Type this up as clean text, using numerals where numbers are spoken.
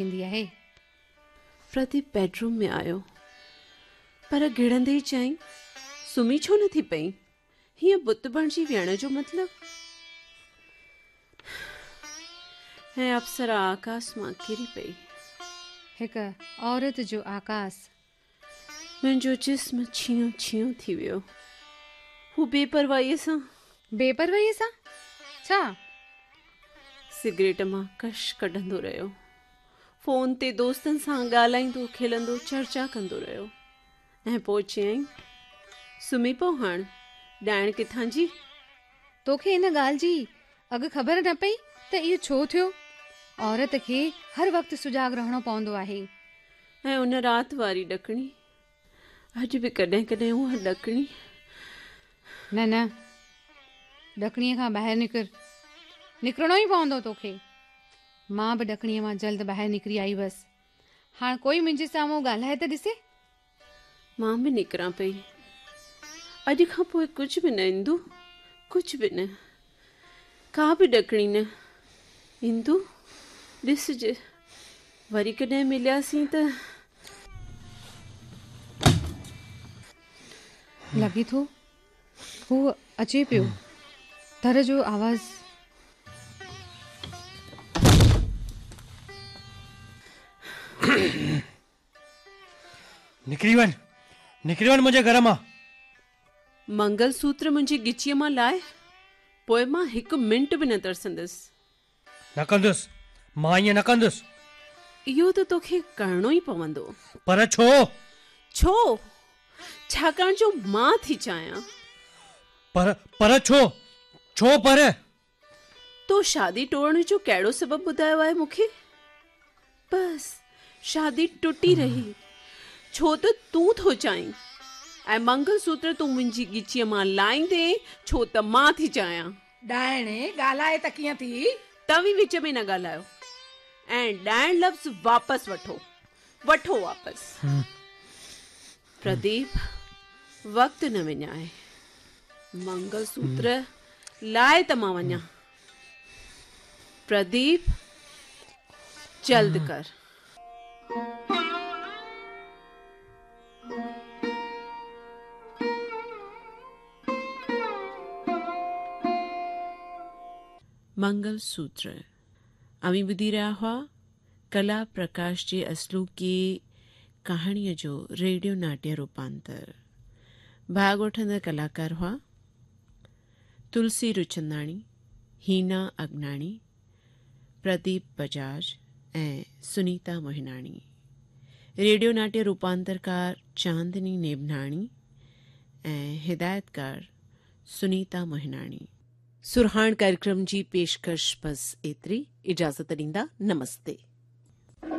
ٿيندي آهي. پرديپ بيڊروم ۾ آيو، پر گهڙندي ئي چيائين، سمهي ڇو نه ٿي پئين؟ هيئن بت بڻجي ويهڻ جو مطلب؟ ۽ اپسرا آڪاس مان ڪري پئي. هڪ عورت جو آڪاس. منهنجو جسم ڇيهون ڇيهون ٿي ويو. هو بي پرواهيء سان. بي پرواهيء سان؟ ڇا؟ سگريٽ مان ڪش ڪڍندو رهيو. فون تي دوستن سان ڳالهائيندو کلندو چرچا ڪندو رهيو ۽ پوء چيائين، سمهي پئو هاڻ، ڏائڻ ڪٿان جي؟ توکي ان ڳالهه جي اڳ خبر نه پئي ته اهو ڇو ٿيو؟ عورت کي هر وقت سجاڳ رهڻو پوندو آهي. ۽ ان رات واري ڏڪڻي، اڄ به ڪڏهن ڪڏهن اها ڏڪڻي. نه نه، ڏڪڻيء کان ٻاهر نڪر، نڪرڻو ئي پوندو توکي. مان به ڏڪڻيء مان جلد ٻاهر نڪري آئي هئس. هاڻ ڪوئي منهنجي سامهون ڳالهائي ته ڏسي. مان به نڪران پئي. اڄ کان پوء ڪجهه به نه اندو، ڪجهه به نه. ڪا به ڏڪڻي نه. اندو، ڏسج، وري ڪڏهن ملياسين ته. لڳي ٿو هو اچي پيو. در جو آواز. نڪري وڃ، نڪري وڃ منهنجي گهر مان. منگل سوتر منهنجي ڳچيء مان لاهه، پوء مان هڪ منٽ به نه ترسندس. نه ڪندس، مان ائين نه ڪندس. اهو ته توکي ڪرڻو ئي پوندو. پر ڇو؟ ڇو؟ ڇاڪاڻ جو مان ٿي چاهيان. پر، پر ڇو؟ ڇو پر؟ تو شادي ٽوڙڻ جو ڪهڙو سبب ٻڌايو آهي مون کي؟ بس، شادي ٽٽي رهي، ڇو ته تون ٿو چاهين ۽ منگل سوتر تون منهنجي ڳچيء مان لاهيندين، ڇو ته مان ٿي چاهيان. ڏائڻ، ڳالهائي ته ڪيئن ٿي؟ توهين وچ ۾ نه ڳالهايو ۽ ڏائڻ لفظ واپس وٺو، وٺو واپس. پرديپ، وقت نه وڃاء. منگل سوتر لاهه ته مان وڃان. پرديپ، جلد ڪر. منگل سوتر، اوهين ٻڌي رهيا هئا ڪلا پرڪاش جي اصلوڪي ڪهاڻيء جو ريڊيو ناٽيه روپانتر. ڀاڳ وٺندڙ ڪلاڪار هئا، تلسي رچنداڻي، هينا اگناڻي، پرديپ بجاج ۽ سنيتا موهناڻي. ريڊيو ناٽيه روپانترڪار چاندني نيڀناڻي ۽ هدايتڪار سنيتا موهناڻي. سرهاڻ ڪاريڪرم جي پيشڪش بس ايتري، اجازت ڏيندا، نمستي.